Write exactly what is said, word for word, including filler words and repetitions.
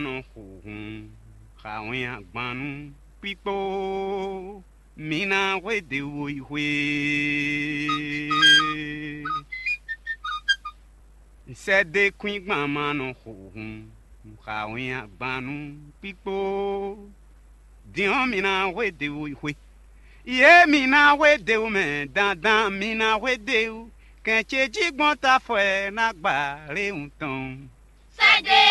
nɔ xo hun xa wɛn agban nú kpíkpó. Mi ná hwedě wú yi xwé. Sɛ́dékwíngban ma nɔ xo hun xa wɛn agban nú kpíkpó. Din ɔ́, mi ná hwedě wú yi xwé. Yě mi ná hwedě wú mɛ dandan, mi ná hwedě wú. Kɛn ce jí gbɔn tafɔ ɛ ná gba lé wun tɔn.